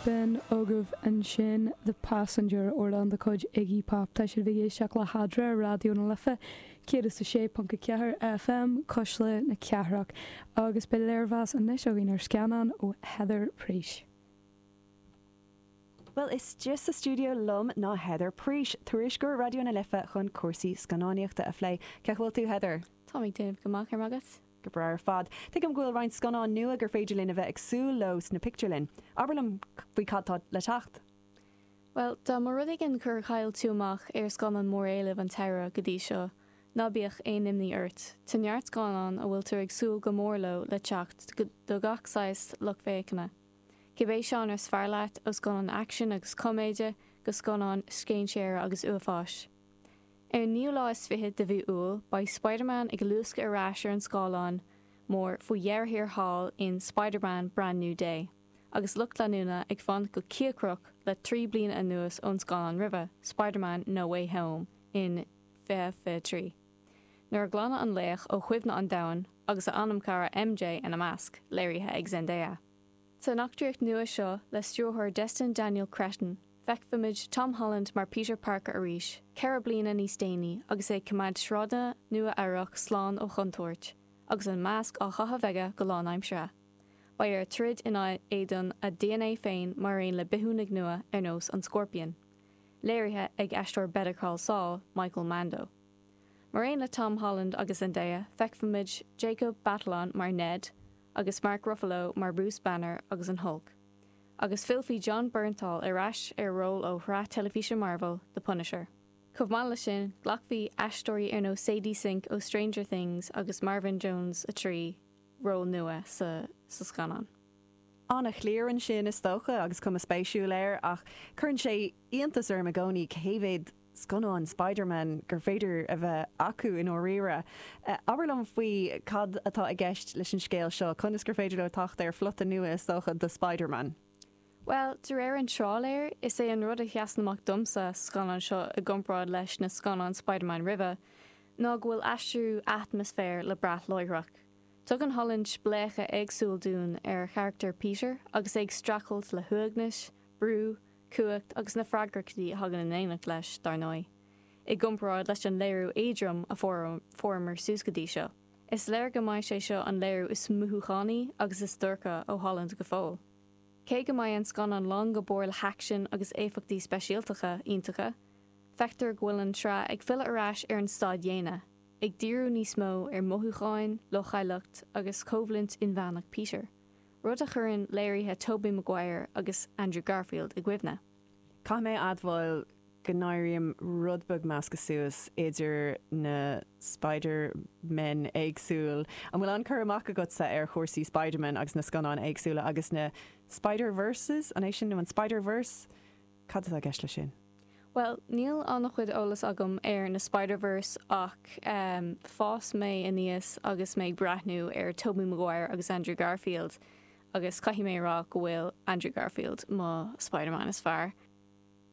B'in agaibh ansin The Passenger, amhrán de chuid Iggy Pop. Tá sibh ag éisteacht le hEadra ar Raidió na Life 106.4 FM, Cuisle na Cathrach. Agus beidh léirmheas anois againn ar scannán ó Heather Preace. Bhuel, istigh sa stiúideo liom ná Heather Preace, tuairisceoir Raidió na Life chun cúrsaí scannánaíochta a phlé. Cén chaoi a bhfuil tú, Heather? Táim ag déanamh go maith, go raibh maith agat. Go breá ar fad. Tuigim go bhfuil roinnt scannán nua gur féidir linn a bheith ag súil leo sna pictiúrlanna. Abair liom faoi cad tá le teacht. Bhuel, dá mba rud éigin gur chaill tú amach ar scannán mór-éilimh an tsamhraidh go dtí seo, ná bíodh aon imní ort. Tá neart scannán a bhfuiltear ag súil go mór leo le teacht do gach saghas lucht féachana. Cibé seánra is fearr leat, ó scannáin aicsin agus coiméide go scannáin scéinséara agus uafáis. Ar an naoú lá is fichead de mhí Iúil, beidh Spider-Man ag luascadh ar ais ar an scáileán mór faoi dheireadh thiar thall in Spider-Man, Brand New Day, agus lucht leanúna ag fanacht go cíocrach le 3 bliana anuas ón scannán roimhe, Spider-Man, No Way Home in 2023, nuair a glanadh an laoch ó chuimhne an domhain, agus a anamchara MJ ina measc, léirithe ag Zendaya. San eachtraíocht nua seo le stiúrthóir Destin Daniel Cretton, feicfimid Tom Holland mar Peter Parker arís, 4 bliana níos déanaí agus é ag coimeád sráideanna Nua-Eabhrac slán ó chontúirt, agus an masc á chaitheamh aige go lánaimseartha. Beidh air troid in éadan a DNA féin mar aon le bithiúnaigh nua ar nós an Scorpion, léirithe ag aisteoir Better Call Saul, Michael Mando. Mar aon le Tom Holland agus Zendaya, feicfimid Jacob Batalon mar Ned agus Mark Ruffalo mar Bruce Banner agus an Hulk. Agus fillfidh Jon Bernthal ar ais ar a ról ó shraith teilifíse Marvel, The Punisher. Chomh maith leis sin, glacfaidh aisteoirí ar nós Sadie Sink ó Stranger Things agus Marvin Jones 3 ról nua sa scannán. An-chliar ansin is dócha agus cuma spéisiúil air ach cuireann sé iontas orm i gcónaí cé mhéad scannán Spider-Man gur féidir a bheith acu i ndáiríre. Abair liom faoi cad atá i gceist leis an scéal seo, conas gur féidir leo teacht ar phlota nua is dócha do Spider-Man? Bhuel, de réir an tráiléir, is é an rud a sheasann amach domsa sa scannán seo i gcomparáid leis na scannáin Spider-Man roimhe, ná go bhfuil aistriú atmaisféir le brath láithreach. Tugann Holland spléachadh éagsúil dúinn ar charachtar Peter agus é ag streachailt le huaigneas, brú, cumhacht agus na freagrachtaí a thagann in éineacht leis, dar ndóigh. I gcomparáid leis an léiriú éadrom a fuaireamar suas go dtí seo, is léir go mbeidh sé seo an léiriú is mothúchánaí agus is dorcha ó Holland go fóill. Cé go mbeidh an scannán lán go barr le haicsean agus éifeachtaí speisialtacha iontacha, feictear go bhfuil an tsraith ag filleadh ar ais ar an staid dhaonna, ag díriú níos mó ar mhothúcháin, leochaileacht agus coimhlint inmheánach Peter. rud a chuireann léirithe Tobey Maguire agus Andrew Garfield i gcuimhne. Caithfidh mé a admháil go n-éirím rud beag measctha suas idir na Spider-Men éagsúil. An bhfuil an-cur amach agatsa ar chúrsaí Spider-Man agus na scannáin éagsúla agus na Spider-Verses, an é sin nó an Spider-Verse? Cad atá i gceist leis sin? Bhuel, níl an-chuid eolas agam ar na Spider-Verse ach fás mé aníos agus mé ag breathnú ar Tobey Maguire agus Andrew Garfield agus caithfidh mé a rá go bhfuil Andrew Garfield mo Spider-Man is fearr.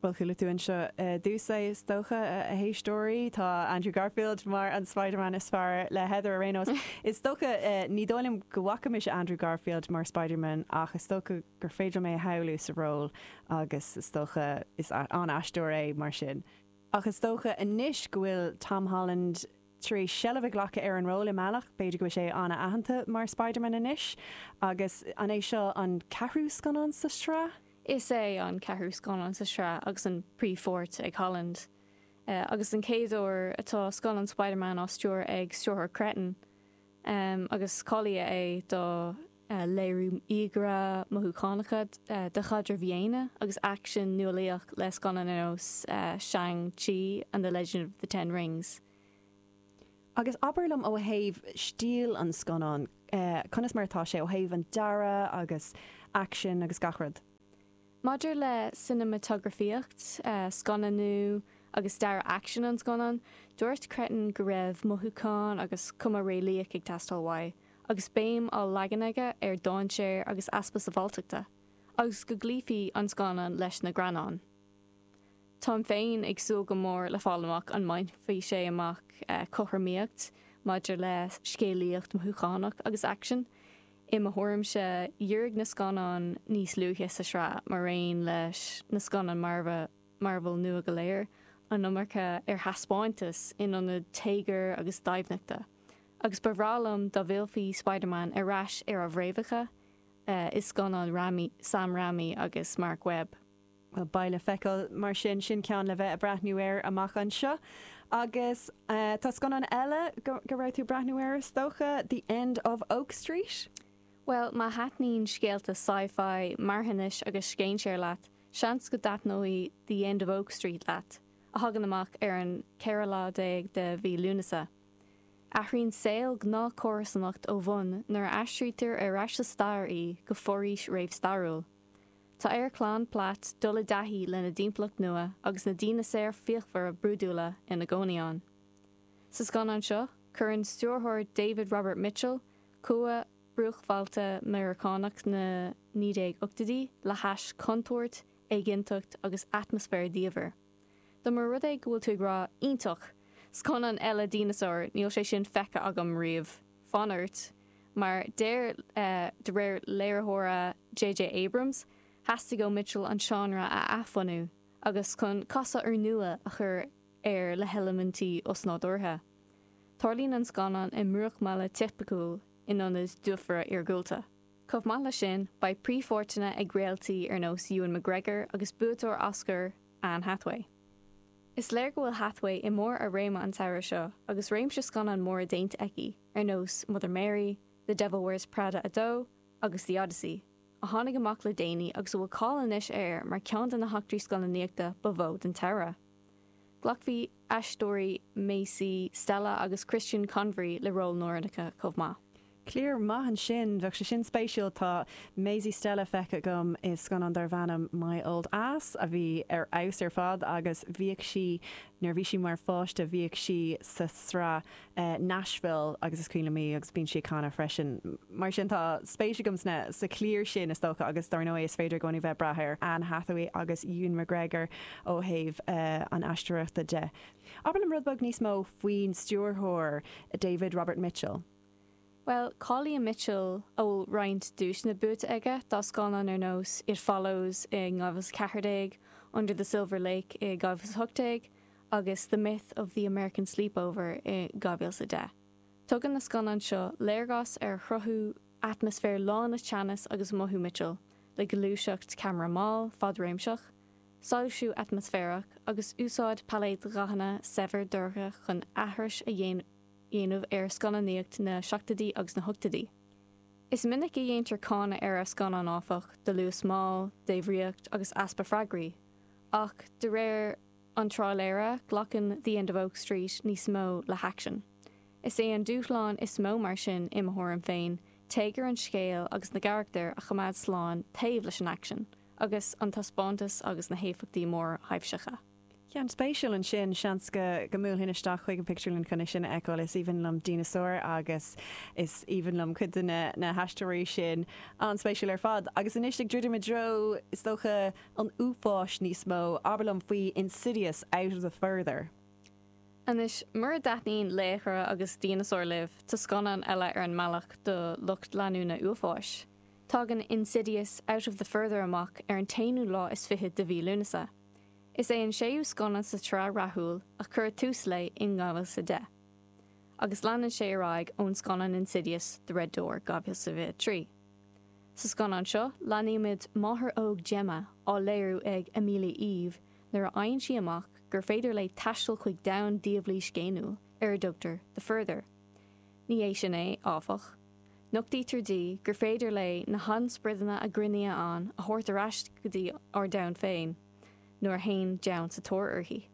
Bhuel, chuala tú anseo i dtús é, is dócha, a éisteoirí. Tá Andrew Garfield mar an Spider-Man is fearr le Heather ar aon nós. Is dócha, ní dóigh liom go bhfaca mise Andrew Garfield mar Spider-Man ach is dócha gur féidir liom é a shamhlú sa ról agus is dócha, is an-aisteoir é mar sin. Ach is dócha anois go bhfuil Tom Holland tar éis seilbh a ghlacadh ar an ról i mbealach, b'fhéidir go bhfuil sé an-aitheanta mar Spider-Man anois. Agus an é seo an ceathrú scannán sa sraith? Is é an ceathrú scannán sa sraith agus an príomhpháirt ag Holland. Agus an chéad uair atá scannán Spider-Man á stiúradh ag stiúrthóir Cretton. Agus cáilithe é do léiriú íogaire, mothúchánacha de chaidrimh dhaonna agus aicsean nuálaíoch le scannáin ar nós Shang-Chi and the Legend of the Ten Rings. Agus abair liom ó thaobh stíl an scannáin, conas mar atá sé ó thaobh an dearadh agus aicsean agus gach rud? Maidir le cineamatagrafaíocht, scannánú agus dearadh aicsin an scannáin, dúirt Cretton go raibh mothúchán agus cuma réalaíoch ag teastáil uaidh, agus béim á leagan aige ar dainséar agus easpa sábháilteachta, agus go gcloífí an scannán leis na greannáin. Táim féin ag súil go mór le fáil amach an mbainfidh sé amach cothromaíocht maidir le scéalaíocht mothúchánach agus aicsean. I mo thuairimse, dhírigh na scannáin níos luaithe sa sraith, maraon leis na scannáin Marvel nua go léir, an iomarca ar thaispeántas in ionad téagair agus doimhneachta. Agus ba bhreá liom dá bhfillfí Spider-Man ar ais ar a bhfréamhacha i scannáin Raimi, Sam Raimi agus Marc Webb. Bhuel, beidh le feiceáil mar sin. Sin ceann le bheith ag breathnú air amach anseo. Agus tá scannán eile go raibh tú ag breathnú air, is dócha, The End of Oak Street? Bhuel, má thaitníonn scéalta sci-fi, marthanais agus scéinséir leat, seans go dtaitneoidh The End of Oak Street leat, a thagann amach ar an 14 lá de mhí Lúnasa. Athraíonn saol gnáthchomharsanacht ó bhun nuair a aistrítear ar ais sa stair í go foraois réamhstairiúil. Tá ar chlann Platt dul i dtaithí lena dtimpeallacht nua agus na dineasáir fíochmhara brúidiúla ina gcónaí ann. Sa scannán seo, cuireann stiúrthóir David Robert Mitchell cumha bruachbhailte Meiriceánach na 1980idí le hais contúirt, éiginnteacht agus atmaisféar diamhair. Dá mba rud é go bhfuil tú ag rá, 'Iontach! Scannán eile dineasár, níl sé sin feicthe agam riamh. Fan ort, mar deir de réir léiritheora JJ Abrams, theastaigh ó Mitchell an seánra a athbhunú agus chun casadh úrnua a chur air le heilimintí osnádúrtha. Tarlaíonn an scannán i mbruachbhaile tipiciúil in ionad dufaire iargúlta. Chomh maith leis sin, beidh príomhpháirteanna ag réaltaí ar nós Ewan McGregor agus buaiteoir Oscar Anne Hathaway. Is léir go bhfuil Hathaway i mbarr a réime an samhradh seo agus réimse scannán móra déanta aici ar nós Mother Mary, The Devil Wears Prada 2 agus The Odyssey, a tháinig amach le déanaí agus a bhfuil cáil anois air mar cheann de na heachtraí scannánaíochta ba mhó den tsamhradh. Glacfaidh aisteoirí Maisy Stella agus Christian Convery le róil lárnacha chomh maith. Cliar maith ansin. Bheadh sé sin spéisiúil. Tá Maisie Stella feicthe agam i scannán darbh ainm My Old Ass a bhí ar fheabhas ar fad agus bhíodh sí, nuair a bhí sí mar pháiste, bhíodh sí sa sraith Nashville agus is cuimhin liom í agus bíonn sí ag canadh freisin. Mar sin tá spéis agam sna, sa chliar sin is dócha agus dar ndóigh is féidir i gcónaí bheith ag brath ar Anne Hathaway agus Ewan McGregor ó thaobh an aisteoireachta de. Abair liom rud beag níos mó faoin stiúrthóir David Robert Mitchell. Bhuel, cáilíonn Mitchell, a bhfuil roinnt duaiseanna buaite aige dá scannáin ar nós It Follows i 2014, Under the Silver Lake i 2018 agus The Myth of the American Sleepover i 2010. Tugann na scannáin seo léargas ar chruthú atmaisféar lán le teannas agus mothú Mitchell, le gluaiseacht ceamara mall, fadréimseach, soilsiú atmaisféarach agus úsáid pailéad dhathanna saibhir dorcha chun aithris a dhéanamh. dhéanamh ar scannánaíocht na seachtóidí agus na hochtóidí. Is minic a dhéantar cáineadh ar a scannáin, áfach, do luas mall, débhríocht agus easpa freagraí. Ach de réir an tráiléara, glacann The End of Oak Street níos mó le haicsean. Is é an dúshlán is mó mar sin, i mo thuairim féin, téagar an scéil agus na gcarachtar a choimeád slán taobh leis an aicsean, agus an taispeántas agus na héifeachtaí mórthaibhseacha. Ceann spéisiúil ansin, seans go go mbuailfinn isteach chuig an pictiúrlann chun é sin a fheiceáil. Is aoibhinn liom dineasáir agus is aoibhinn liom cuid de na na haisteoirí sin. An-spéisiúil ar fad. Agus anois ag druidim i dtreo, is dócha, an uafáis níos mó, abair liom faoi Insidious, Out of the Further. Anois, mura dtaitníonn laochra agus dineasáir libh, tá scannán eile ar an mbealach do lucht leanúna uafáis. Tagann Insidious, Out of the Further amach ar an t-aonú lá is fichead de mhí Lúnasa. Is é an séú scannán sa tsraith rathúil a cuireadh tús léi in 2010, agus leanann sé ar aghaidh ón scannán Insidious, The Red Door, 2023. Sa scannán seo, leanaímid máthair óg Gemma, á léiriú ag Amelia Eve, nuair a fhaigheann sí amach gur féidir léi taisteal chuig domhan diabhlaí scéiniúil ar a dtugtar The Further. Ní hé sin é, áfach. Nochtaítear di gur féidir léi na han-sprideanna a gcruinníodh ann a thabhairt ar ais go dtí ár domhan féin nuair a théann deamhan sa tóir uirthi.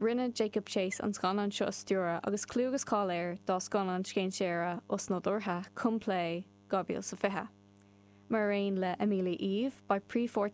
Rinne Jacob Chase an scannán seo a stiúradh agus clú agus cáil air dá scannán scéinséara osnádúrtha Come Play 2020. Mar aon le Amelia Eve, beidh príomhpháirt.